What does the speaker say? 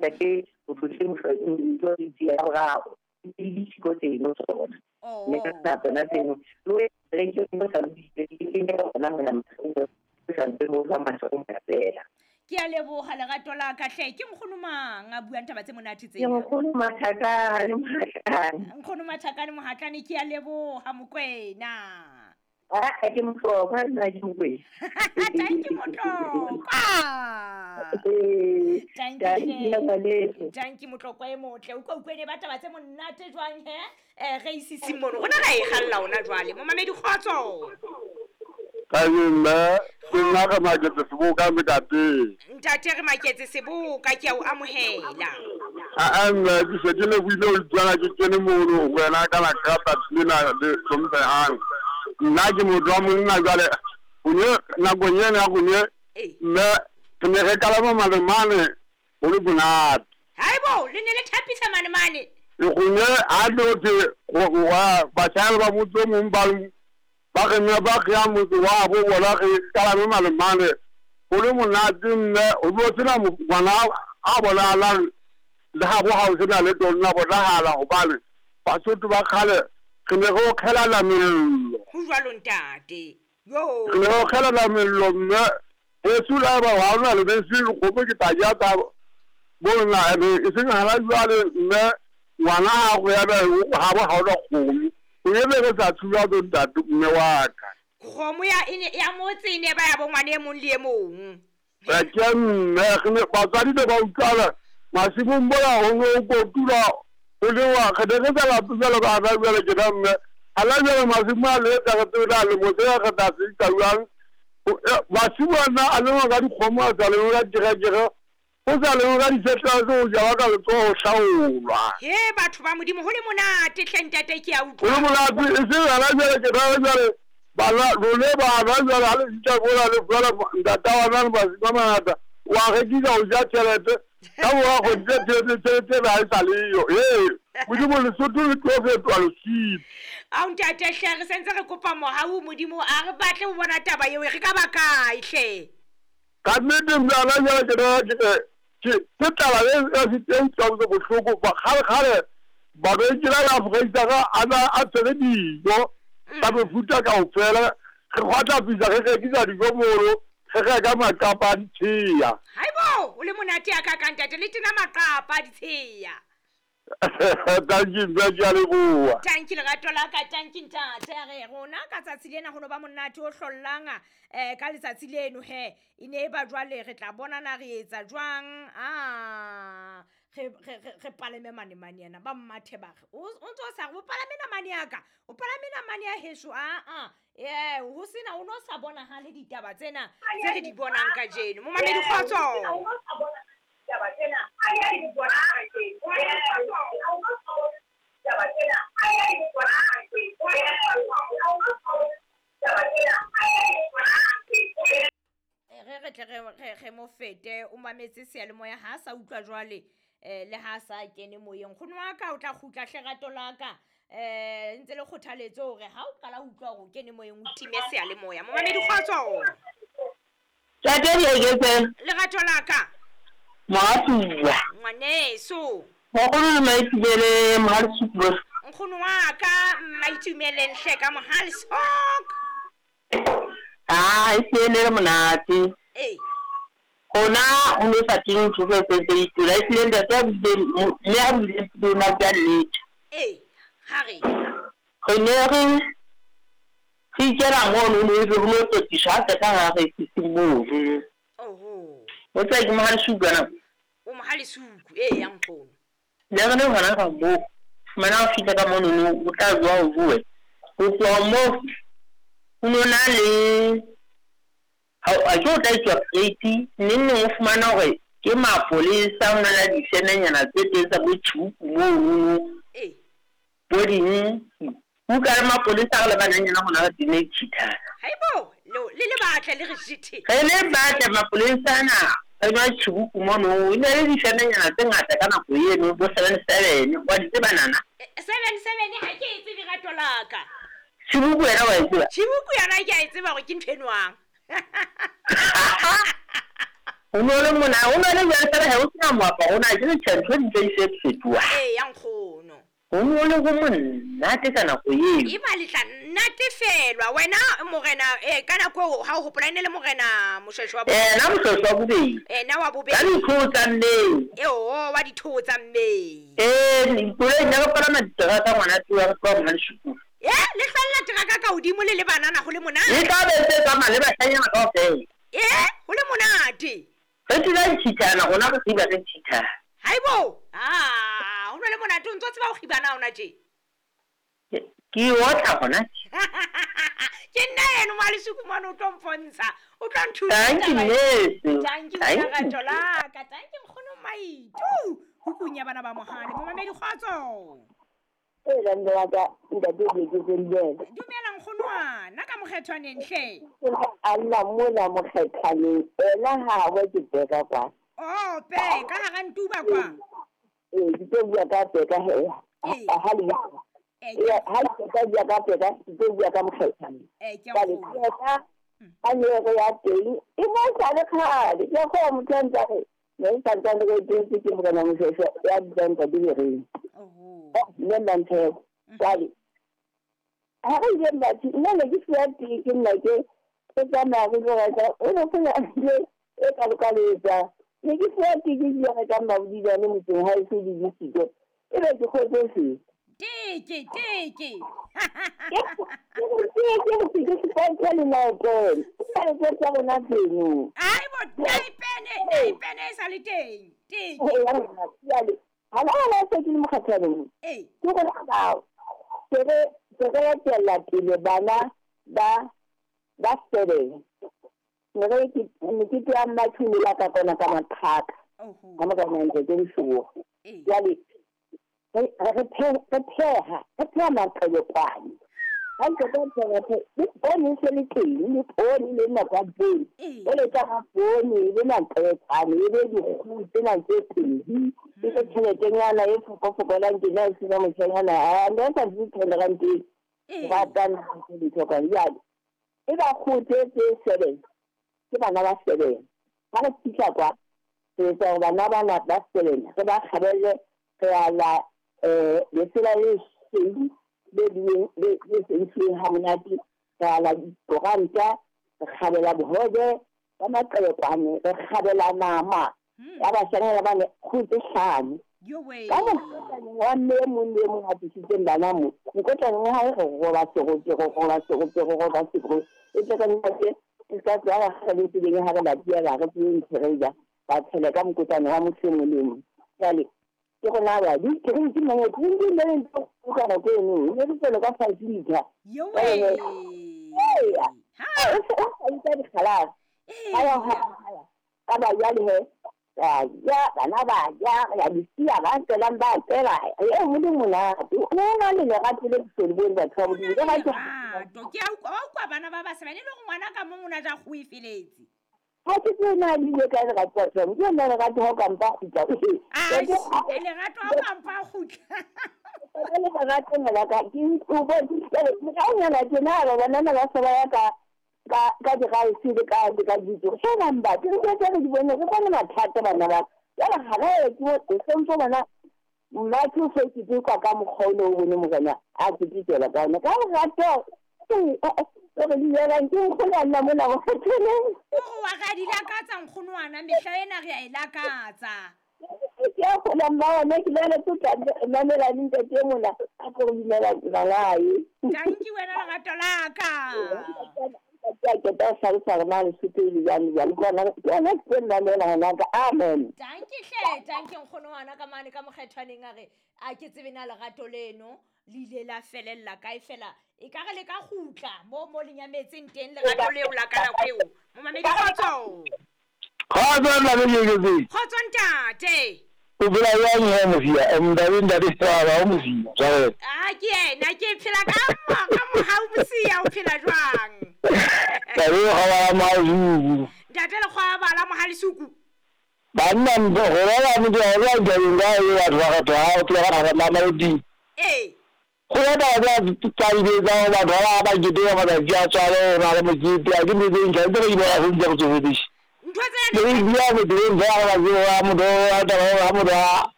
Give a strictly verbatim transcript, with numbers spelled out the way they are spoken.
Ntate o tlotse mohlodi ya boraro le ditshiko tseno tsona mme ka nna tsona tseno le re ke mo sa ke ke bona mona mo santse mo ba masong fela. Ke a leboha lerato la ka hle. Ke nkgono mang a buang taba tse monate tsena? Ke nkgono Mathakane Mohatlane. Nkgono Mathakane Mohatlane, ke a leboha Mokwena. Ah, ke Motlokwa nna ke Mokwena. Thank you Motlokwa. Thank you. Thank you Motlokwa e motle. O utlwa ba taba tse monate jwang he? Eh re isisi mono. Rona ra e galla ona jwale. Momamedi kgotso. Ka nna ke nna ka maketse seboka ntate. Ntate re maketse seboka ke a o amohela. A nna ke se ke le buile o tswana ke kene mono wena ka la kapa lena le hlomphehang. Nna ke motho wa monna jwale o ne nakong ena ya rona mme re ne re kalama malemane ho le monate. Haibo le ne le thapisa malemane. Rona a tlo wa batjha ba motse o mong ba ba re ne ba re ya motse wa bo bona re kalame malemane ho le monate mme o bo sena ngwana a bonahalang le ha bo ha o sena le tonna bonahala hobane Basotho ba kgale re ne re okgelana mello. Ho jwalo ntate. Yo. Re ne re okgelana mello mme heso le haeba ha hona lebese kgomo ke tla ja tsa bona e seng hana jwale mme ngwana ha go ya ha bo ha ona kgomo. O ebe re sa tshuwa bo ntate mme wa ka. Kgomo ya ene ya motse ene ba ya bo ngwana e mong le e mong. Ba ke mme re ne batswadi ba utlwala masimong bola ho no kotula o le wa re ne re sa lape jwalo ka hana jwale ke na mme hana jwale masimo a le etsa re tsebe le motse re tla se etsa jwang. Masimo ana a lengwa ka dikgomo a sa lengwe ka diterekere ho sa lengwe ka disetlwa tse ho jalwa ka letsoho ho hlaolwa. He batho ba Modimo ho le monate hle ntate ke a utlwa. Ho le monate e seng hana jwale ke na jwale bana lone bana jwale ha le fihla mola le fumana ntata wa na le masimo a mangata wa rekisa ho ja tjhelete ka mora kgwedi tse tjhelete tjhelete ha e sa leyo. Ee Modimo Lesotho le tlo fetoha leswiti. Ao ntate hle re sentse re kopa mohau Modimo a re batle ho bona taba eo re ka ba kae hle. Ka nnete mme hana jwale ke na ke ke taba e e utlwang bohloko kgale kgale mabenkele a Afrika a na a tshwere dijo tsa mefuta kaofela re kgwatlapisa re rekisa dijo mono re reka maqapa a ditsheya. Haibo o le monate ya ka ka ntate le tena maqapa a ditsheya. Thank you mme ke a leboha. Thank you lerato la ka, thank you ntate. Re rona ka tsatsi lena ho no ba monate o hlollang eh ka letsatsi leno he e ne ba jwale re tla bonana re etsa jwang ah re re re palame mane mane yana ba mmathe ba re o ntso sa re o palame namane ya ka o palame namane ya heso a a eh ho sena o no sa bonahale ditaba tsena tse re di bonang kajeno. Momamedi kgotso. Re re tle re re mo fete o mametse seyalemoya ha sa utlwa jwale eh le ha sa kene moyeng. Nkgono wa ka o tla kgutla hle rato la ka eh ntse le kgothaletso hore ha o qala ho utlwa hore o kene moyeng o time seyalemoya. Momamedi kgotso. Ntate Dieketseng. Lerato la ka. Moatuwa. Ngwaneso. Nkgono le Maitumele Mohalesuku. Nkgono wa ka Maitumele nhle ka Mohalesuku. Ah, e hlile monate. Eh. Hona ho no sa teng ntho tse tse itula e hlile ntate a buile mme a buile lona ka nnete. Eh, ha re. Re ne re re ikela mono no ebe ho no tlotiswa ha qeta ha re sisi moo. Oho. O tla ke Mohalesuku ana. O Mohalesuku eh ya nkgono. Le re ne hona ka moo. Fumana o fihla ka mono no o tla jwa o bue. Ho tloha moo ho no na le ha a ke o tla etswa plate neng neng o fumana hore ke mapolesa ho na le difemenyana tse teng tsa bo tjhupu mono. Eh. Bo ding. O ka re mapolesa re le bananyana hona re tene cheatana. Haibo le le batle le re jithe. Re le batle mapolesa ana re nwa tjhupu mono e ne le difemenyana tse ngata ka nako eno bo seven seven wa di tseba nana. seven seven ha ke e tsebe rato la ka. Tjhupu wena wa e tseba? Tjhupu yona ke a e tseba hore ke ntho e nwang. O no le mona o no le jwale fela ha o sena moaparo o na ke tjhe ntho di ntse di se fetoha. Ee ya nkgono. O no le go monate ka nako eo. E ba le tla natefelwa wena morena eh ka nako eo ha o hopola e ne le morena Moshweshwe wa Eh na Moshweshwe wa bobedi. Eh na wa bobedi. Ka dithoto tsa mmei. Eo wa dithoto tsa mmei. Eh koloi ne re palama diteraka ngwana tloha re tloha Mmaleshuku. Eh le hlalla teraka ka hodimo le le banana ho le monate. Le tla be se tsamaya le bashanyana kaofela. Eh ho le monate. Re dula ntshithana rona re tsiba re ntshithana. Haibo ah o no le monate o ntse tseba ho kgibana ona tje. Ke otla hona. Ke nna eno Mmaleshuku mane o tlo mpontsha. O tlo nthusa. Thank you nese. Thank you lerato la ka. Thank you nkgono Maitu. Hukung ya bana ba mohale. Momamedi kgotso. E la nna ka ntate ke ke tsendele. Dumela nkgono nna ka mokgethwaneng hle. A nna mona mokgethwaneng. Ena ha wa ke beka kwa. Oh pe ka hara ntuba kwa. Eh ke tlo bua ka peka he. Ha le ya ha ke ka bua ka peka ke tlo bua ka mokgethwaneng. Eh ke a go. A ne re ya teng e mo sa le khale ke go motho re ne sa ntse re teng ke morena Moshweshwe ya bitsang ka direng. Oho. Nne manthe jwale ha re ile batho nna ne ke fuwa teng ke nna ke ke tsamaya ke tlo reka o ne sena le e kalokaletsa ne ke fuwa teng ke ile reka mabodilane motseng ha e se di disiko e be ke kgotsofetse. Teke teke. Ke ke ke ke ke le naipene. Ke ke tsa rona tseno. Ai bo naipene naipene e sa le teng. Teke. Jwale ha la la se ke le mokgathaleng. Eh. Ke go ba ke re ke re etella pele bana ba ba seven. Ne re ke mokete ya Mmathuni la ka kona ka mathaka. Oho. Ka mo ka nna ke shuo. Jwale re re pheha re pheha maqebekwane. Ha ke ka pheha le poone se le teng le poone le nna kwa poone. O le tsa poone le maqebekwane e be dikgoho tsena tse pedi. E ke tjheletenyana e fokofokolang ke na e sena motjhanyana a nna sa di tholelang teng. Ba tana ke dithoka jwale. E ba kgoho tse seven. Ke bana ba seven. Ha re fihla kwa re etsa hore bana bana ba seven re ba kgabele re ala eh lesela le seng le le le seng ha monate re ala dikoranta re kgabela bohobe ba maqebekwane re kgabela nama ya bashanyana ba ne kgoho tse hlano. Ka mokgotlane wa mme e mong le e mong a tlisitseng bana mo mokotlaneng wa hae re roba serope re roba serope re roba serope e tle ka nna ke ka tswa ga re tseleng ha re ba tiela re tswe ntho re ja ba tshele ka mokotlane wa motho e mong le mong. Jwale ke rona ba di ke re ke mongwe ke di le ntho o ka nako eno ne re tswele ka five liter. Yo we. Ha o itse dikgalase. Ha ya ha ka ba jwale he ya bana ba ya ya disia ba tselang ba tsela e mo monate o na le lerato le le bone batho ba modimo ke lerato ke a utlwa bana ba ba sebane le go ngwana ka mong o na ja go e feletse. Ha ke tsena le ile ka lerato batho ke nna lerato ha ka mpa kgutla. A lerato ha ka mpa kgutla. Ka le lerato ngwana ka ke o bo ke ka ngwana ke na ba bana ba sa ba ya ka ka ka diraese le ka le ka ditso shena mba ke re ke re di bone re bone mathata bana ba jwale ha re ke o sentse bana mmatho se ke ke ka ka mokgwa o o bone morena a ke tsela ka ona ka lerato re di yela ke nkgono nna mona go fetoleng o wa ga di lakatsa nkgono wana mehla ena re a e lakatsa. Ke a gola mma ne ke le tlo mamela ntate mona a go dumela balae. Thank you wena lerato la ka. Ke tla hlalosa hore na Lesotho e le jwang jwang. Ke ona ke ona ke mamela ngwana ka. Amen. Thank you hle, thank you nkgono wana ka mane ka mokgethwaneng a re a ke tsebe na lerato leno le ile la felella kae fela e ka re le ka kgutla mo mo le nyametseng teng lerato leo la ka nako eo. Momamedi kgotso. Kgotso nna le ke Kgotso ntate. O phela jwang he Mosia? Ntate ntate Saba o Mosia. Jwale. Ah ke yena ke phela ka ka mohau Mosia o phela jwang? Ntate o kgabala Mazuku. Ntate le kgwabala Mohalisuku. Banna mpo go ba motho a ba tabeng ka e batho ba kgetho ha o tloga ga ba Mamelodi. Ee. Go ya taba tsa tsa di tsa batho ba ba keteka matsatsi a tswalo o na le mokete a ke ntho tse ntjha tse re di bona se ntse re tsofetse. Ntho tsena le bua motho o ntse a ba tseo a motho a taba ha motho a